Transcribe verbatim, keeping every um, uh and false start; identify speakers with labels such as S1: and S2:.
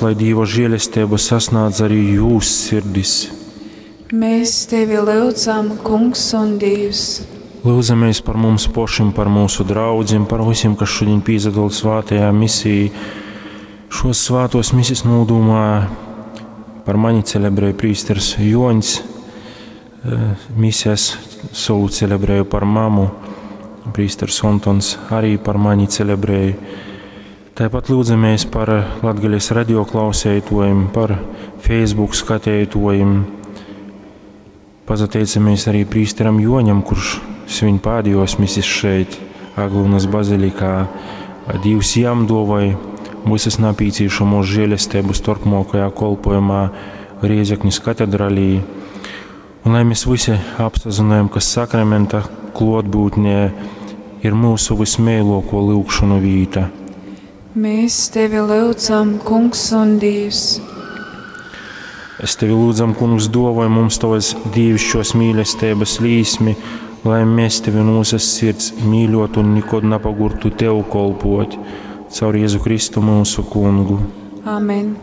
S1: lai Dīva žēlesteiba sasnādz arī jūs sirdis.
S2: Mēs tevi lyudzam, Kungs un Dīvs.
S1: Lūdzamies par mums pašim, par mūsu draudzim, par visiem, kas šodien pīsadola svātajā misijā. Šos svātos misijas nūdūmā par mani celebrēja prīsters Joņs, misijas savu celebrēju par mamu, prīsters Ontons arī par mani celebrēja. Tāpat lūdzamies par Latgales radio klausētojiem, par Facebook skatētojiem. Pazateicamies arī prīsteram Joņam, kurš svin pēdējos misis šeit, Aglonas bazilikā. Dīvs jam dovai visas napīcīšamos žēlestības turpmākajā kolpojumā Riezeknis katedralī. Un lai mēs visi apsazinājam, ka sakramenta klotbūtnē ir mūsu vismēloko lūgšanu vīta.
S2: Mēs tevi lūdzam, Kungs un Dievs.
S1: Es tevi lūdzam, Kungs, dovoj mums tavas dīvišķos mīlestības līsmi, lai mēs tevi no visas sirds mīļotu un nekad nepagurtu tev kolpot. Caur Jēzu Kristu mūsu kungu.
S2: Amen.